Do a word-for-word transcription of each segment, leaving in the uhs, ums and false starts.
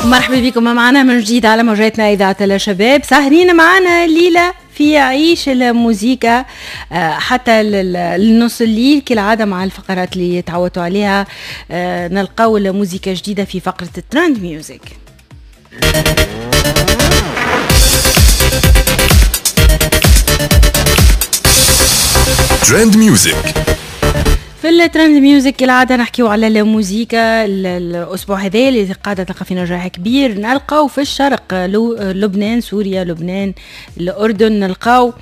مرحبا بكم معنا من جديد على موجاتنا إذاعة الشباب. سهرين معنا الليلة في عيش الموزيكا حتى النص الليل كالعادة مع الفقرات اللي تعودتوا عليها. نلقاو الموزيكا جديدة في فقرة ال trend music. trend music. في ال trend music كالعادة نحكيو على الموزيكا الأسبوع هذا اللي قاعدة تلقى في نجاح كبير. نلقاو في الشرق لبنان، سوريا، لبنان، الأردن، نلقاو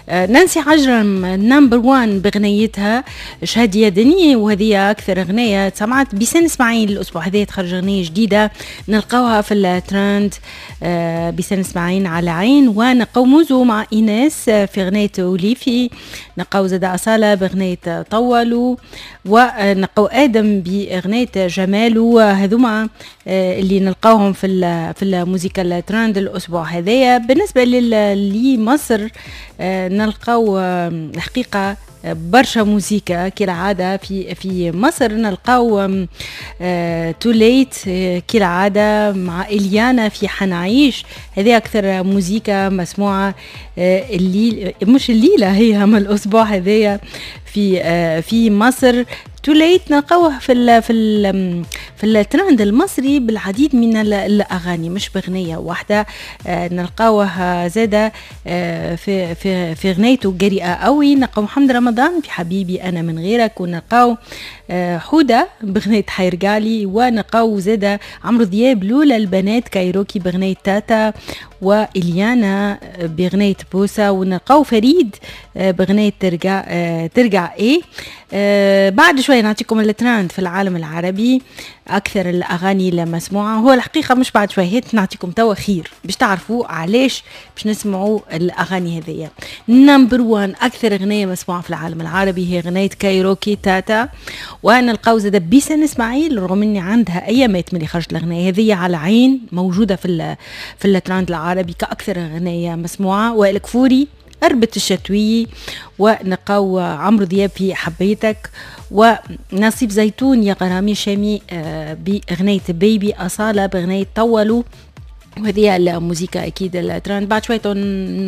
نانسي عجرم number واحد بغنيتها شهادية دني، وهذه أكثر غنية سمعت. بيسان إسماعيل الأسبوع هذا تخرج غنية جديدة نلقاوها في الترند، بيسان إسماعيل على عين. ونلقاو موزو مع إيناس في غنية وليفي، نلقاو زاد أصالة بغنية طولو، ونلقاو آدم بغنية جمالو. هذوما اللي نلقاوهم في في الموسيقى الترند الأسبوع هذايا. بالنسبة لمصر نلقاو الحقيقة برشا موزيكا كالعادة في في مصر. نلقاو توليت كالعادة مع إليانا في حنعيش، هذه أكثر موزيكا مسموعة الليل، مش الليلة هي هم الأسبوع هذايا في في مصر. توليت نلقاوه في ال في ال في الترند المصري بالعديد من الاغاني مش بغنيه واحدة. نلقاوه زاده في في في غنيته جريئة قوي. نلقاو محمد رمضان في حبيبي انا من غيرك، ونلقاو حوده بغنيه حيرجالي، ونلقاو زاده عمرو دياب لولا البنات كايروكي بغنيه تاتا، واليانا بغنيه بوسه، ونلقاو فريد بغنيه ترجع ترجع ايه. بعد شوية نعطيكم الترند في العالم العربي اكثر الاغاني المسموعة. هو الحقيقة مش بعد شوية، هات نعطيكم توا خير باش تعرفوا علاش باش نسمعوا الاغاني هذيا. number واحد اكثر اغنية مسموعة في العالم العربي هي اغنية كايروكي تاتا، ونلقاو زاد بيسان اسماعيل رغم اني عندها ايامات من اللي خرجت الاغنية هذيا على عين موجودة في في الترند العربي كاكثر اغنية مسموعة. وائل كفوري قربت الشتوية، ونلقاو عمرو دياب في حبيتك، ونصيب زيتون يا غرامي شامي بأغنية بيبي، أصالة بأغنية طولوا. وهذه الموزيكا اكيد الترند. بعد شوية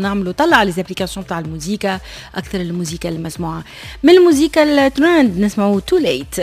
نعملوا طلع على les applications تاع الموزيكا، اكثر الموزيكا المسموعة. من الموزيكا الترند نسمعوا توليت.